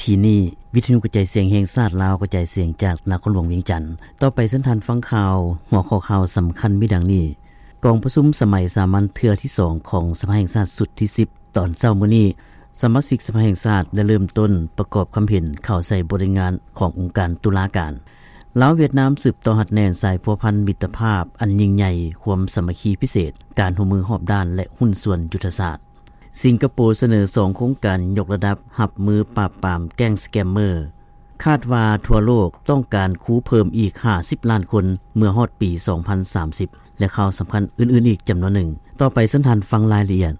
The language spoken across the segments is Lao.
ກີ້ນີ້ ວິທະຍຸກະຈາຍສຽງແຫ່ງຊາດລາວ ກະຈາຍສຽງຈາກນະຄອນຫຼວງວຽງຈັນ. ຕໍ່ໄປເຊີນທ່ານຟັງຂ່າວ, ຫົວຂໍ້ຂ່າວສຳຄັນມີດັ່ງນີ້: ກອງປະຊຸມສະໄໝສາມັນເທື່ອທີສອງຂອງສະພາແຫ່ງຊາດຊຸດທີສິບ ຕອນເຊົ້າມື້ນີ້ ສະມາຊິກສະພາແຫ່ງຊາດໄດ້ເລີ່ມຕົ້ນປະກອບຄຳເຫັນເຂົ້າໃສ່ບົດລາຍງານຂອງອົງການຕຸລາການ. ລາວ-ຫວຽດນາມສືບຕໍ່ຮັດແໜ້ນສາຍພົວພັນມິດຕະພາບອັນຍິ່ງໃຫຍ່, ຄວາມສາມັກຄີພິເສດ, ການຮ່ວມມືຮອບດ້ານ ແລະ ຫຸ້ນສ່ວນຍຸດທະສາດ. ສິງກະໂປສະເໜີສອງໂຄງການຍົກລະດັບຮັບມືປາບປາມແກ້ງສະແກມເມີ. ຄາດວ່າທົ່ວໂລກຕ້ອງການຄູເພີ່ມອີກຫ້າສິບລ້ານຄົນເມື່ອຮອດປີສອງພັນສາມສິບ ແລະ ຂ່າວສຳຄັນອື່ນໆອີກຈຳນວນໜຶ່ງ. ຕໍ່ໄປເຊີນທ່ານຟັງລາຍລະອຽດ.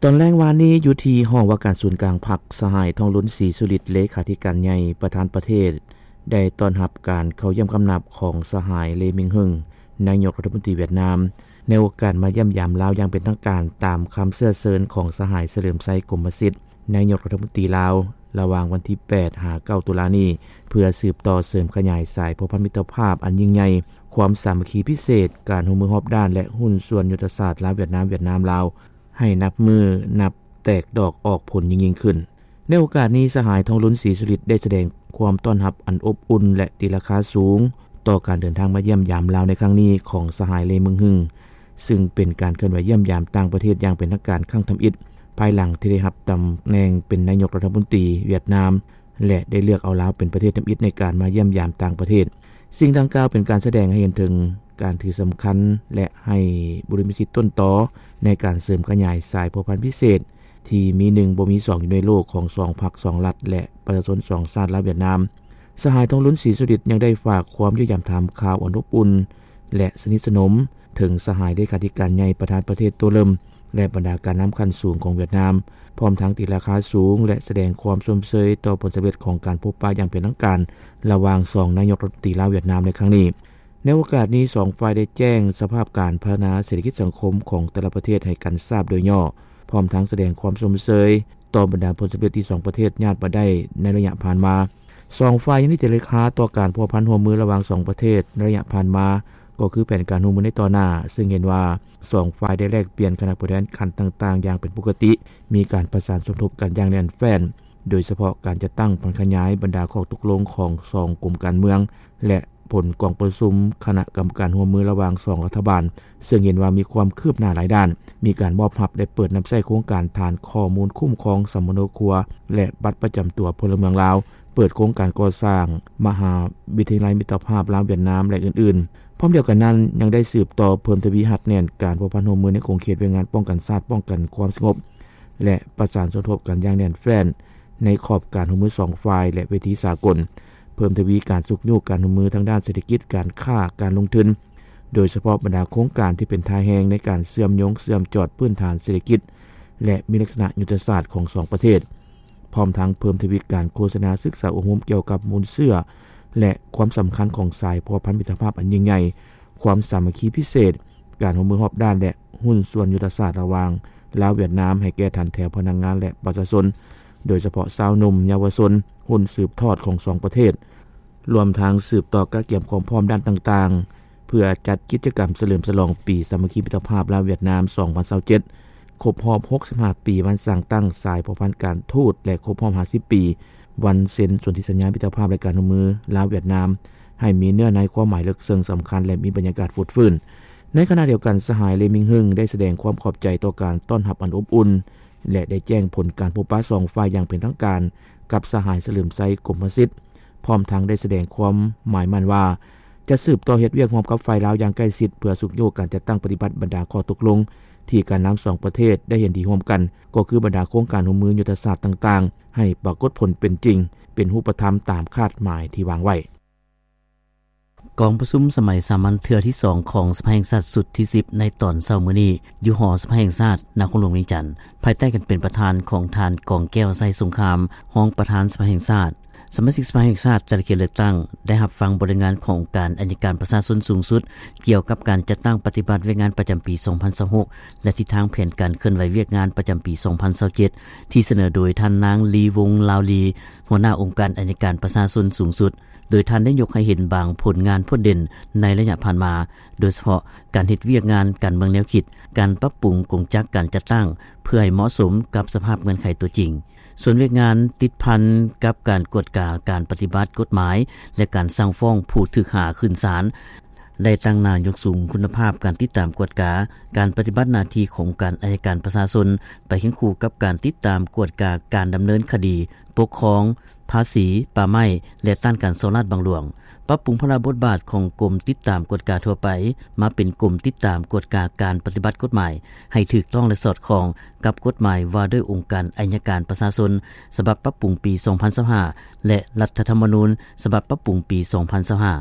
ຕອນແລງວານນີ້ ຢູ່ທີ່ຫ້ອງວ່າການສູນກາງພັກ, ສະຫາຍ ທອງລຸນ ສີສຸລິດ ເລຂາທິການໃຫຍ່ ປະທານປະເທດ ໄດ້ຕ້ອນຮັບການເຂົ້າຢ້ຽມຄຳນັບຂອງສະຫາຍ ເລ ມິງເຮິງ ນາຍົກລັດຖະມົນຕີຫວຽດນາມ ໃນໂອກາດມາຢ້ຽມຢາມລາວຢ່າງເປັນທາງການ ຕາມຄຳເຊື້ອເຊີນຂອງສະຫາຍ ສະເຫຼີມໄຊ ກົມມະສິດ ນາຍົກລັດຖະມົນຕີລາວ ລະຫວ່າງວັນທີແປດຫາເກົ້າຕຸລານີ້ ເພື່ອສືບຕໍ່ເສີມຂະຫຍາຍສາຍພົວພັນມິດຕະພາບອັນຍິ່ງໃຫຍ່, ຄວາມສາມັກຄີພິເສດ, ການຮ່ວມມືຮອບດ້ານ ແລະ ຫຸ້ນສ່ວນຍຸດທະສາດລາວ-ຫວຽດນາມ, ຫວຽດນາມ-ລາວ ໃຫ້ນັບມື້ນັບແຕກດອກອອກຜົນຍິ່ງໆຂຶ້ນ. ໃນໂອກາດນີ້ ສະຫາຍ ທອງລຸນ ສີສຸລິດ ໄດ້ສະແດງຄວາມຕ້ອນຮັບອັນອົບອຸ່ນ ແລະ ຕີລາຄາສູງ ຕໍ່ການເດີນທາງມາຢ້ຽມຢາມລາວໃນຄັ້ງນີ້ຂອງສະຫາຍ ເລ ມິງເຮິງ ຊຶ່ງເປັນການເຄື່ອນໄຫວຢ້ຽມຢາມຕ່າງປະເທດຢ່າງເປັນທາງການຄັ້ງທຳອິດ ພາຍຫຼັງທີ່ໄດ້ຮັບຕຳແໜ່ງເປັນນາຍົກລັດຖະມົນຕີຫວຽດນາມ ແລະ ໄດ້ເລືອກເອົາລາວເປັນປະເທດທຳອິດໃນການມາຢ້ຽມຢາມຕ່າງປະເທດ. ສິ່ງດັ່ງກ່າວເປັນການສະແດງໃຫ້ເຫັນເຖິງການຖືສຳຄັນ ແລະ ໃຫ້ບຸລິມະສິດຕົ້ນຕໍໃນການເສີມຂະຫຍາຍສາຍພົວພັນພິເສດ ທີ່ມີໜຶ່ງບໍ່ມີສອງຢູ່ໃນໂລກຂອງສອງພັກສອງລັດ ແລະ ປະຊາຊົນສອງຊາດລາວ-ຫວຽດນາມ. ສະຫາຍ ທອງລຸນ ສີສຸລິດ ຍັງໄດ້ຝາກຄວາມຢ້ຽມຢາມຖາມຂ່າວອັນອົບອຸ່ນ ແລະ ສະໜິດສະໜົມ ເຖິງສະຫາຍເລຂາທິການໃຫຍ່ປະທານປະເທດໂຕເລີ່ມ ແລະ ບັນດາການນຳຂັ້ນສູງຂອງຫວຽດນາມ, ພ້ອມທັງຕີລາຄາສູງ ແລະ ສະແດງຄວາມຊົມເຊີຍຕໍ່ຜົນສຳເລັດຂອງການພົບປະຢ່າງເປັນທາງການ ລະຫວ່າງສອງນາຍົກລັດຖະມົນຕີລາວ-ຫວຽດນາມໃນຄັ້ງນີ້. ໃນໂອກາດນີ້ ສອງຝ່າຍໄດ້ແຈ້ງສະພາບການພັດທະນາເສດຖະກິດສັງຄົມຂອງແຕ່ລະປະເທດໃຫ້ກັນຊາບໂດຍຫຍໍ້, ພ້ອມທັງສະແດງຄວາມຊົມເຊີຍຕໍ່ບັນດາຜົນສຳເລັດທີ່ສອງປະເທດຍາດມາໄດ້ໃນໄລຍະຜ່ານມາ. ສອງຝ່າຍຍັງໄດ້ຕີລາຄາຕໍ່ການພົວພັນຮ່ວມມືລະຫວ່າງສອງປະເທດໃນໄລຍະຜ່ານມາ, ກໍຄືແຜນການຮ່ວມມືໃນຕໍ່ໜ້າ, ເຊິ່ງເຫັນວ່າສອງຝ່າຍໄດ້ແລກປ່ຽນຄະນະຜູ້ແທນຂັ້ນຕ່າງໆຢ່າງເປັນປົກກະຕິ, ມີການປະສານສົມທົບກັນຢ່າງແໜ້ນແຟ້ນ, ໂດຍສະເພາະການຈັດຕັ້ງຜັນຂະຫຍາຍບັນດາຂໍ້ຕົກລົງຂອງສອງກົມການເມືອງ ແລະ ຜົນກອງປະຊຸມຄະນະກຳມະການຮ່ວມມືລະຫວ່າງສອງລັດຖະບານ, ເຊິ່ງເຫັນວ່າມີຄວາມຄືບໜ້າຫຼາຍດ້ານ, ມີການມອບຮັບ ແລະ ເປີດນຳໃຊ້ໂຄງການຖານຂໍ້ມູນຄຸ້ມຄອງສຳມະໂນຄົວ ແລະ ບັດປະຈຳຕົວພົນລະເມືອງລາວ, ເປີດໂຄງການກໍ່ສ້າງມະຫາວິທະຍາໄລມິດຕະພາບລາວ-ຫວຽດນາມ ແລະ ອື່ນໆ. ພ້ອມດຽວກັນນັ້ນ, ຍັງໄດ້ສືບຕໍ່ເພີ່ມທະວີຮັດແໜ້ນການພົວພັນຮ່ວມມືໃນຂົງເຂດວຽກງານປ້ອງກັນຊາດ, ປ້ອງກັນຄວາມສະຫງົບ ແລະ ປະສານສົມທົບກັນຢ່າງແໜ້ນແຟ້ນໃນຂອບການຮ່ວມມືສອງຝ່າຍ ແລະ ເວທີສາກົນ, ເພີ່ມທະວີການຊຸກຍູ້ການຮ່ວມມືທາງດ້ານເສດຖະກິດ, ການຄ້າ, ການລົງທຶນ, ໂດຍສະເພາະບັນດາໂຄງການທີ່ເປັນທ່າແຮງໃນການເຊື່ອມໂຍງເຊື່ອມຈອດພື້ນຖານເສດຖະກິດ ແລະ ມີລັກສະນະຍຸດທະສາດຂອງສອງປະເທດ, ພ້ອມທັງເພີ່ມທະວີການໂຄສະນາສຶກສາອົບຮົມກ່ຽວກັບມູນເຊື້ອ ແລະ ຄວາມສຳຄັນຂອງສາຍພົວພັນມິດຕະພາບອັນຍິ່ງໃຫຍ່, ຄວາມສາມັກຄີພິເສດ, ການຮ່ວມມືຮອບດ້ານ ແລະ ຫຸ້ນສ່ວນຍຸດທະສາດລະຫວ່າງລາວ-ຫວຽດນາມ ໃຫ້ແກ່ຖັນແຖວພະນັກງານ ແລະ ປະຊາຊົນ, ໂດຍສະເພາະຊາວໜຸ່ມ, ເຍົາວະຊົນ, ຮຸ່ນສືບທອດຂອງສອງປະເທດ, ລວມທັງສືບຕໍ່ກະກຽມຄວາມພ້ອມດ້ານຕ່າງໆ ເພື່ອຈັດກິດຈະກຳສະເຫຼີມສະຫຼອງປີສາມັກຄີມິດຕະພາບລາວ-ຫວຽດນາມ ສອງພັນຊາວເຈັດ, ຄົບຮອບຫົກສິບຫ້າປີວັນສ້າງຕັ້ງສາຍພົວພັນການທູດ ແລະ ຄົບຮອບຫ້າສິບປີວັນເຊັນສົນທິສັນຍາມິດຕະພາບ ແລະ ການຮ່ວມມືລາວ-ຫວຽດນາມ ໃຫ້ມີເນື້ອໃນຄວາມໝາຍເລິກເຊິ່ງສຳຄັນ ແລະ ມີບັນຍາກາດຟົດຟື້ນ. ໃນຂະນະດຽວກັນ, ສະຫາຍ ເລ ມິງເຮິງ ໄດ້ສະແດງຄວາມຂອບໃຈຕໍ່ການຕ້ອນຮັບອັນອົບອຸ່ນ ແລະ ໄດ້ແຈ້ງຜົນການພົບປະສອງຝ່າຍຢ່າງເປັນທາງການກັບສະຫາຍ ສະເຫຼີມໄຊ ກົມມະສິດ, ພ້ອມທັງໄດ້ສະແດງຄວາມໝາຍໝັ້ນວ່າ ຈະສືບຕໍ່ເຮັດວຽກຮ່ວມກັບຝ່າຍລາວຢ່າງໃກ້ຊິດ ເພື່ອຊຸກຍູ້ການຈັດຕັ້ງປະຕິບັດບັນດາຂໍ້ຕົກລົງທີ່ການນຳສອງປະເທດໄດ້ເຫັນດີຮ່ວມກັນ, ກໍຄືບັນດາໂຄງການຮ່ວມມືຍຸດທະສາດຕ່າງໆ ໃຫ້ປາກົດຜົນເປັນຈິງ, ເປັນຮູບປະທຳຕາມຄາດໝາຍທີ່ວາງໄວ້. ກອງປະຊຸມສະໄໝສາມັນເທື່ອທີສອງຂອງສະພາແຫ່ງຊາດຊຸດທີສິບ ໃນຕອນເຊົ້າມື້ນີ້ ຢູ່ຫໍສະພາແຫ່ງຊາດ ນະຄອນຫຼວງວຽງຈັນ, ພາຍໃຕ້ການເປັນປະທານຂອງທ່ານ ກອງແກ້ວ ໄຊສົງຄາມ ຮອງປະທານສະພາແຫ່ງຊາດ. ສະມາຊິກສະພາແຫ່ງຊາດ ແຕ່ລະເຂດເລືອກຕັ້ງ ໄດ້ຮັບຟັງບົດລາຍງານຂອງອົງການໄອຍະການປະຊາຊົນສູງສຸດ ກ່ຽວກັບການຈັດຕັ້ງປະຕິບັດວຽກງານປະຈຳປີສອງພັນຊາວຫົກ ແລະ ທິດທາງແຜນການເຄື່ອນໄຫວວຽກງານປະຈຳປີສອງພັນຊາວເຈັດ ທີ່ສະເໜີໂດຍທ່ານນາງ ລີວົງ ລາວລີ ຫົວໜ້າອົງການໄອຍະການປະຊາຊົນສູງສຸດ. ໂດຍທ່ານໄດ້ຍົກໃຫ້ເຫັນບາງຜົນງານໂດດເດັ່ນໃນໄລຍະຜ່ານມາ, ໂດຍສະເພາະການເຮັດວຽກງານການເມືອງແນວຄິດ, ການປັບປຸງກົງຈັກການຈັດຕັ້ງ ເພື່ອໃຫ້ເໝາະສົມກັບສະພາບເງື່ອນໄຂຕົວຈິງ. ສ່ວນວຽກງານຕິດພັນກັບການກວດກາການປະຕິບັດກົດໝາຍ ແລະ ການສັ່ງຟ້ອງຜູ້ຖືກຫາຂຶ້ນສານ ໄດ້ຕັ້ງໜ້າຍົກສູງຄຸນນະພາບການຕິດຕາມກວດກາການປະຕິບັດໜ້າທີ່ຂອງອົງການໄອຍະການປະຊາຊົນ ໄປຄຽງຄູ່ກັບການຕິດຕາມກວດກາການດຳເນີນຄະດີປົກຄອງ, ພາສີ, ປ່າໄມ້ ແລະ ຕ້ານການສໍ້ລາດບັງຫຼວງ. ປັບປຸງພາລະບົດບາດຂອງກົມຕິດຕາມກວດກາທົ່ວໄປ ມາເປັນກົມຕິດຕາມກວດກາການປະຕິບັດກົດໝາຍ ໃຫ້ຖືກຕ້ອງ ແລະ ສອດຄ່ອງກັບກົດໝາຍວ່າດ້ວຍອົງການໄອຍະການປະຊາຊົນ ສະບັບປັບປຸງປີສອງພັນຊາວຫ້າ ແລະ ລັດຖະທຳມະນູນ ສະບັບປັບປຸງປີສອງພັນຊາວຫ້າ.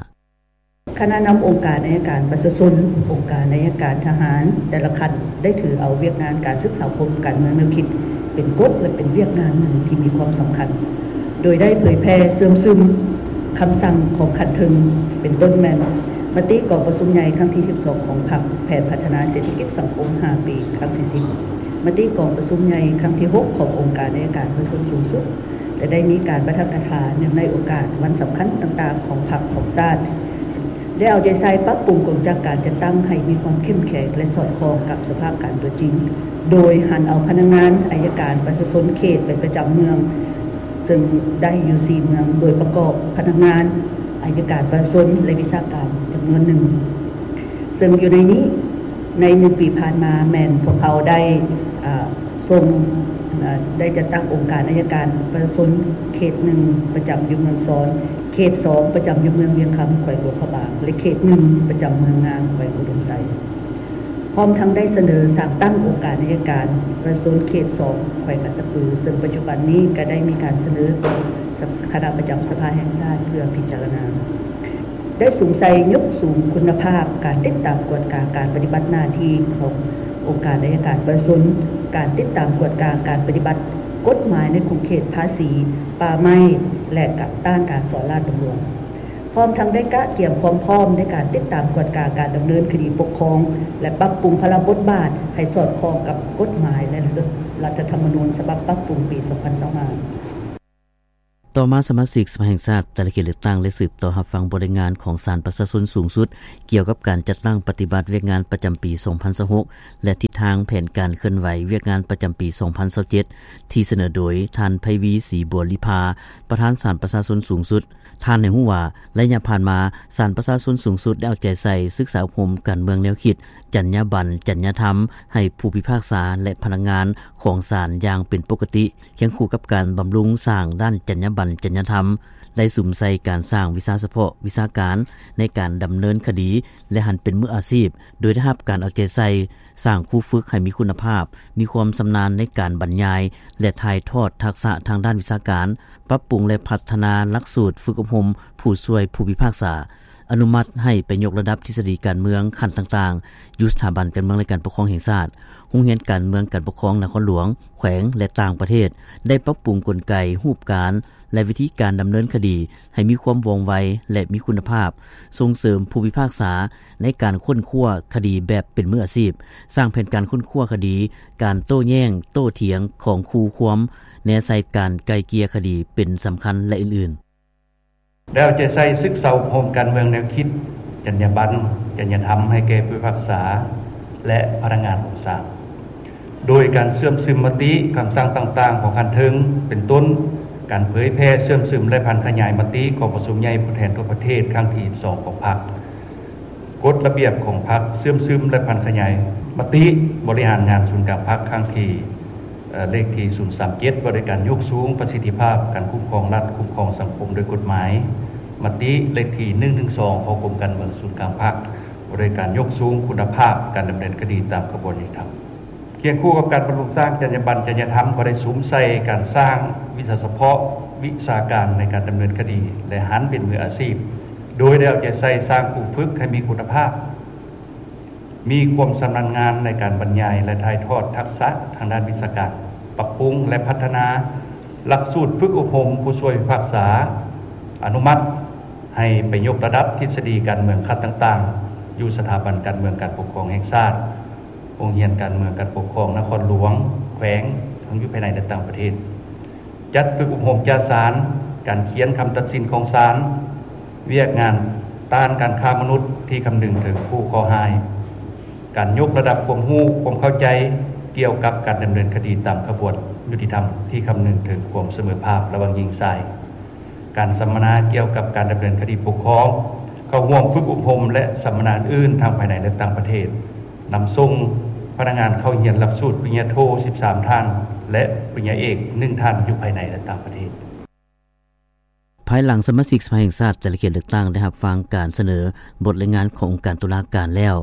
ຄະນະນຳອົງການໄອຍະການປະຊາຊົນ, ອົງການໄອຍະການທະຫານ ແຕ່ລະຂັ້ນໄດ້ຖືເອົາວຽກງານການສຶກສາອົບຮົມການເມືອງແນວຄິດ ເປັນກົກ ແລະ ເປັນວຽກງານໜຶ່ງທີ່ມີຄວາມສຳຄັນ, ໂດຍໄດ້ເຜີຍແຜ່ເຊື່ອມຊຶມຄຳສັ່ງຂອງຂັ້ນເທິງ ເປັນຕົ້ນແມ່ນມະຕິກອງປະຊຸມໃຫຍ່ຄັ້ງທີສິບສອງຂອງພັກ, ແຜນພັດທະນາເສດຖະກິດສັງຄົມຫ້າປີຄັ້ງທີສິບ, ມະຕິກອງປະຊຸມໃຫຍ່ຄັ້ງທີຫົກຂອງອົງການໄອຍະການປະຊາຊົນສູງສຸດ ແລະ ໄດ້ມີການປາຖະກະຖາເນື່ອງໃນໂອກາດວັນສຳຄັນຕ່າງໆຂອງພັກຂອງຊາດ, ໄດ້ເອົາໃຈໃສ່ປັບປຸງກົງຈັກການຈັດຕັ້ງໃຫ້ມີຄວາມເຂັ້ມແຂງ ແລະ ສອດຄ່ອງກັບສະພາບການຕົວຈິງ, ໂດຍຫັນເອົາພະນັກງານໄອຍະການປະຊາຊົນເຂດໄປປະຈຳເມືອງ, ເຊິ່ງໄດ້ຢູ່ສີ່ເມືອງ, ໂດຍປະກອບພະນັກງານໄອຍະການປະຊາຊົນ ແລະ ວິຊາການຈຳນວນໜຶ່ງ. ເຊິ່ງຢູ່ໃນນີ້, ໃນໜຶ່ງປີຜ່ານມາແມ່ນພວກເຮົາໄດ້ ອາ ສົ່ງ ອາ ໄດ້ຈັດຕັ້ງອົງການໄອຍະການປະຊາຊົນເຂດໜຶ່ງ ປະຈຳຢູ່ເມືອງຊອນ, ເຂດສອງ ປະຈຳຢູ່ເມືອງວຽງຄຳ ແຂວງຫຼວງພະບາງ ແລະ ເຂດໜຶ່ງ ປະຈຳເມືອງງາມ ແຂວງອຸດົມໄຊ, ພ້ອມທັງໄດ້ສະເໜີສ້າງຕັ້ງອົງການໄອຍະການປະຊາຊົນເຂດສອງ ແຂວງອັດຕະປື, ເຊິ່ງປັດຈຸບັນນີ້ກໍໄດ້ມີການສະເໜີຕໍ່ຄະນະປະຈຳສະພາແຫ່ງຊາດເພື່ອພິຈາລະນາ. ໄດ້ສຸມໃສ່ຍົກສູງຄຸນນະພາບການຕິດຕາມກວດກາການປະຕິບັດໜ້າທີ່ຂອງອົງການໄອຍະການປະຊາຊົນ, ການຕິດຕາມກວດກາການປະຕິບັດກົດໝາຍໃນຂົງເຂດພາສີ, ປ່າໄມ້ ແລະ ກະຕ້ານການສໍ້ລາດບັງຫຼວງ, ພ້ອມທັງໄດ້ກະກຽມຄວາມພ້ອມໃນການຕິດຕາມກວດກາການດຳເນີນຄະດີປົກຄອງ ແລະ ປັບປຸງພາລະບົດບາດໃຫ້ສອດຄ່ອງກັບກົດໝາຍ ແລະ ລັດຖະທຳມະນູນສະບັບປັບປຸງປີສອງພັນຊາວຫ້າ. ຕໍ່ມາສະມາຊິກສະພາແຫ່ງຊາດແຕ່ລະເຂດເລືອກຕັ້ງໄດ້ສືບຕໍ່ຮັບຟັງບົດລາຍງານຂອງສານປະຊາຊົນສູງສຸດ ກ່ຽວກັບການຈັດຕັ້ງປະຕິບັດວຽກງານປະຈຳປີສອງພັນຊາວຫົກ ແລະ ທິດທາງແຜນການເຄື່ອນໄຫວວຽກງານປະຈຳປີສອງພັນຊາວເຈັດ ທີ່ສະເໜີໂດຍທ່ານ ໄພວີ ສີບົວລີພາ ປະທານສານປະຊາຊົນສູງສຸດ. ທ່ານໃຫ້ຮູ້ວ່າ ໄລຍະຜ່ານມາ ສານປະຊາຊົນສູງສຸດໄດ້ເອົາໃຈໃສ່ສຶກສາອົບຮົມການເມືອງແນວຄິດ, ຈັນຍາບັນ, ຈັນຍາທຳ ໃຫ້ຜູ້ພິພາກສາ ແລະ ພະນັກງານຂອງສານຢ່າງເປັນປົກກະຕິ. ຄຽງຄູ່ກັບການບຳລຸງສ້າງດ້ານຈັນຍາບັນ, ຈັນຍາທຳ ໄດ້ສຸມໃສ່ການສ້າງວິຊາສະເພາະ, ວິຊາການໃນການດຳເນີນຄະດີ ແລະ ຫັນເປັນມືອາຊີບ, ໂດຍໄດ້ຮັບການເອົາໃຈໃສ່ສ້າງຄູຝຶກໃຫ້ມີຄຸນນະພາບ, ມີຄວາມຊຳນານໃນການບັນຍາຍ ແລະ ຖ່າຍທອດທັກສະທາງດ້ານວິຊາການ, ປັບປຸງ ແລະ ພັດທະນາຫຼັກສູດຝຶກອົບຮົມຜູ້ຊ່ວຍຜູ້ພິພາກສາ, ອະນຸມັດໃຫ້ໄປຍົກລະດັບທິດສະດີການເມືອງຂັ້ນຕ່າງໆ ຢູ່ສະຖາບັນການເມືອງ ແລະ ການປົກຄອງແຫ່ງຊາດ, ໂຮງຮຽນການເມືອງການປົກຄອງນະຄອນຫຼວງ, ແຂວງ ແລະ ຕ່າງປະເທດ, ໄດ້ປັບປຸງກົນໄກ, ຮູບການ ແລະ ວິທີການດຳເນີນຄະດີໃຫ້ມີຄວາມວ່ອງໄວ ແລະ ມີຄຸນນະພາບ, ສົ່ງເສີມຜູ້ພິພາກສາໃນການຄົ້ນຄວ້າຄະດີແບບເປັນມືອາຊີບ, ສ້າງແຜນການຄົ້ນຄວ້າຄະດີ, ການໂຕ້ແຍ້ງ, ໂຕ້ຖຽງຂອງຄູ່ຄວາມ, ແນໃສ່ການໄກ່ເກ່ຍຄະດີເປັນສຳຄັນ ແລະ ອື່ນໆ. ໄດ້ເອົາໃຈໃສ່ສຶກສາອົບຮົມການເມືອງແນວຄິດ, ຈັນຍາບັນ, ຈັນຍາທຳໃຫ້ແກ່ຜູ້ພິພາກສາ ແລະ ພະນັກງານຂອງສານ, ໂດຍການເຊື່ອມຊຶມມະຕິ, ຄຳສັ່ງຕ່າງໆຂອງຂັ້ນເທິງ ເປັນຕົ້ນ ການເຜີຍແຜ່, ເຊື່ອມຊຶມ ແລະ ຜັນຂະຫຍາຍມະຕິກອງປະຊຸມໃຫຍ່ຜູ້ແທນທົ່ວປະເທດຄັ້ງທີສິບສອງຂອງພັກ, ກົດລະບຽບຂອງພັກ, ເຊື່ອມຊຶມ ແລະ ຜັນຂະຫຍາຍມະຕິບໍລິຫານງານສູນກາງພັກຄັ້ງທີ ເອີ ເລກທີສູນສາມເຈັດ ວ່າດ້ວຍການຍົກສູງປະສິດທິພາບການຄຸ້ມຄອງລັດ, ຄຸ້ມຄອງສັງຄົມໂດຍກົດໝາຍ, ມະຕິເລກທີໜຶ່ງໜຶ່ງສອງ ຂອງກົມການເມືອງສູນກາງພັກ ວ່າດ້ວຍການຍົກສູງຄຸນນະພາບການດຳເນີນຄະດີຕາມຂະບວນຍຸຕິທຳ. ຄຽງຄູ່ກັບການບຳລຸງສ້າງຈັນຍາບັນ, ຈັນຍາທຳ ກໍໄດ້ສຸມໃສ່ການສ້າງວິຊາສະເພາະ, ວິຊາການໃນການດຳເນີນຄະດີ ແລະ ຫັນເປັນມືອາຊີບ, ໂດຍໄດ້ເອົາໃຈໃສ່ສ້າງຄູຝຶກໃຫ້ມີຄຸນນະພາບ, ມີຄວາມຊຳນານງານໃນການບັນຍາຍ ແລະ ຖ່າຍທອດທັກສະທາງດ້ານວິຊາການ, ປັບປຸງ ແລະ ພັດທະນາຫຼັກສູດຝຶກອົບຮົມຜູ້ຊ່ວຍພິພາກສາ, ອະນຸມັດໃຫ້ໄປຍົກລະດັບທິດສະດີການເມືອງຂັ້ນຕ່າງໆ ຢູ່ສະຖາບັນການເມືອງການປົກຄອງແຫ່ງຊາດ, ໂຮງຮຽນການເມືອງການປົກຄອງນະຄອນຫຼວງ, ແຂວງ, ທັງຢູ່ພາຍໃນ ແລະ ຕ່າງປະເທດ. ຈັດຝຶກອົບຮົມຈາສານ, ການຂຽນຄຳຕັດສິນຂອງສານ, ວຽກງານຕ້ານການຄ້າມະນຸດທີ່ຄຳນຶງເຖິງຜູ້ເຄາະຮ້າຍ, ການຍົກລະດັບຄວາມຮູ້, ຄວາມເຂົ້າໃຈກ່ຽວກັບການດຳເນີນຄະດີຕາມຂະບວນຍຸຕິທຳທີ່ຄຳນຶງເຖິງຄວາມສະເໝີພາບລະຫວ່າງຍິງຊາຍ, ການສຳມະນາກ່ຽວກັບການດຳເນີນຄະດີປົກຄອງ, ເຂົ້າຮ່ວມຝຶກອົບຮົມ ແລະ ສຳມະນາອື່ນໆ ທັງພາຍໃນ ແລະ ຕ່າງປະເທດ, ນຳສົ່ງພະນັກງານເຂົ້າຮຽນຫຼັກສູດປະລິນຍາໂທສິບສາມທ່ານ ແລະ ປະລິນຍາເອກໜຶ່ງທ່ານ ຢູ່ພາຍໃນ ແລະ ຕ່າງປະເທດ. ພາຍຫຼັງສະມາຊິກສະພາແຫ່ງຊາດແຕ່ລະເຂດເລືອກຕັ້ງໄດ້ຮັບຟັງການສະເໜີບົດລາຍງານຂອງອົງການຕຸລາການແລ້ວ,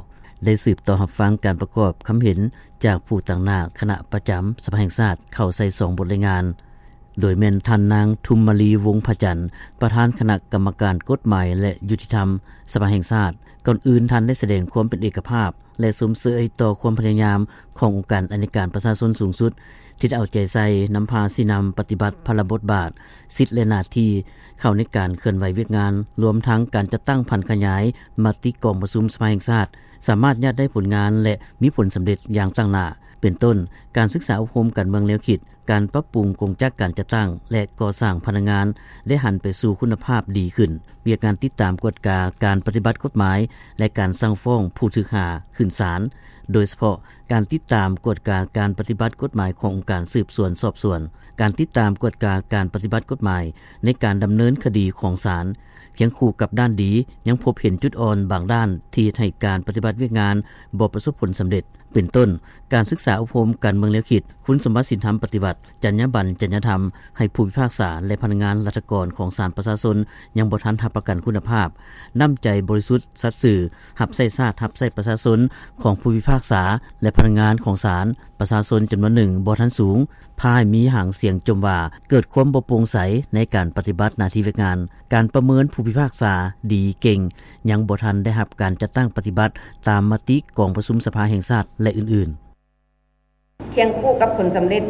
ໄດ້ສືບຕໍ່ຮັບຟັງການປະກອບຄຳເຫັນຈາກຜູ້ຕາງໜ້າຄະນະປະຈຳສະພາແຫ່ງຊາດເຂົ້າໃສ່ສອງບົດລາຍງານ, ໂດຍແມ່ນທ່ານນາງທຸມມະລີ ວົງພະຈັນ, ປະທານຄະນະກຳມະການກົດໝາຍ ແລະ ຍຸຕິທຳສະພາແຫ່ງຊາດ. ກ່ອນອື່ນທ່ານໄດ້ສະແດງຄວາມເປັນເອກະພາບ ແລະ ຊົມເຊີຍຕໍ່ຄວາມພະຍາຍາມຂອງອົງການອັຍການປະຊາຊົນສູງສຸດ ທີ່ໄດ້ເອົາໃຈໃສ່ນຳພາຊີ້ນຳປະຕິບັດພາລະບົດບາດ, ສິດ ແລະ ໜ້າທີ່ເຂົ້າໃນການເຄື່ອນໄຫວວຽກງານ, ລວມທັງການຈັດຕັ້ງຜັນຂະຫຍາຍມະຕິກອງປະຊຸມສະພາແຫ່ງຊາດ ສາມາດຍາດໄດ້ຜົນງານ ແລະ ມີຜົນສຳເລັດຢ່າງຕັ້ງໜ້າ, ເປັນຕົ້ນ ການສຶກສາອົບຮົມການເມືອງແນວຄິດ, ການປັບປຸງກົງຈັກການຈັດຕັ້ງ ແລະ ກໍ່ສ້າງພະນັກງານ ແລະ ຫັນໄປສູ່ຄຸນນະພາບດີຂຶ້ນ, ວຽກງານຕິດຕາມກວດກາການປະຕິບັດກົດໝາຍ ແລະ ການສັ່ງຟ້ອງຜູ້ຖືກຫາຂຶ້ນສານ, ໂດຍສະເພາະການຕິດຕາມກວດກາການປະຕິບັດກົດໝາຍຂອງອົງການສືບສວນສອບສວນ, ການຕິດຕາມກວດກາການປະຕິບັດກົດໝາຍໃນການດຳເນີນຄະດີຂອງສານ. ຄຽງຄູ່ກັບດ້ານດີ, ຍັງພົບເຫັນຈຸດອ່ອນບາງດ້ານທີ່ເຮັດໃຫ້ການປະຕິບັດວຽກງານບໍ່ປະສົບຜົນສຳເລັດ. ເປັນຕົ້ນ, ການສຶກສາອົບຮົມການເມືອງແນວຄິດ, ຄຸນສົມບັດສິນທຳປະຕິວັດ, ຈັນຍາບັນ, ຈັນຍາທຳ ໃຫ້ຜູ້ພິພາກສາ ແລະ ພະນັກງານລັດຖະກອນຂອງສານປະຊາຊົນ ຍັງບໍ່ທັນຮັບປະກັນຄຸນນະພາບ, ນ້ຳໃຈບໍລິສຸດສັດຊື່, ຮັບໃຊ້ຊາດ, ຮັບໃຊ້ປະຊາຊົນຂອງຜູ້ພິພາກສາ ແລະ ພະນັກງານຂອງສານປະຊາຊົນຈຳນວນໜຶ່ງບໍ່ທັນສູງ, ພາໃຫ້ມີຫາງສຽງຈົ່ມວ່າເກີດຄວາມບໍ່ໂປ່ງໃສໃນການປະຕິບັດໜ້າທີ່ວຽກງານ. ການປະເມີນຜູ້ພິພາກສາດີເກັ່ງ, ຍັງບໍ່ທັນໄດ້ຮັບການຈັດຕັ້ງປະຕິບັດຕາມມະຕິກອງປະຊຸມສະພາແຫ່ງຊາດ ແລະ ອື່ນໆ. ຄຽງຄູ່ກັບຜົນສຳເລັດ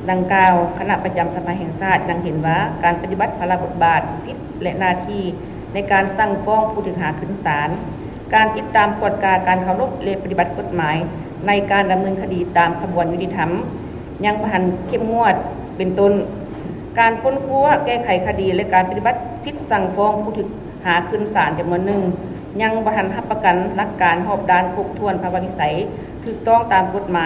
ດັ່ງກ່າວ, ຄະນະປະຈຳສະພາແຫ່ງຊາດຍັງເຫັນວ່າ ການປະຕິບັດພາລະບົດບາດ, ສິດ ແລະ ໜ້າທີ່ໃນການສັ່ງຟ້ອງຜູ້ຖືກຫາຂຶ້ນສານ, ການຕິດຕາມກວດກາການເຄົາລົບ ແລະ ປະຕິບັດກົດໝາຍໃນການດຳເນີນຄະດີຕາມຂະບວນຍຸຕິທຳ ຍັງບໍ່ທັນເຂັ້ມງວດ, ເປັນຕົ້ນ ການຄົ້ນຄວ້າແກ້ໄຂຄະດີ ແລະ ການປະຕິບັດສິດສັ່ງຟ້ອງຜູ້ຖືກຫາຂຶ້ນສານຈຳນວນໜຶ່ງ ຍັງບໍ່ທັນຮັບປະກັນຫຼັກການຮອບດ້ານຄົບຖ້ວນພາວະວິໄສ ຖືກຕ້ອງຕາມກົດໝ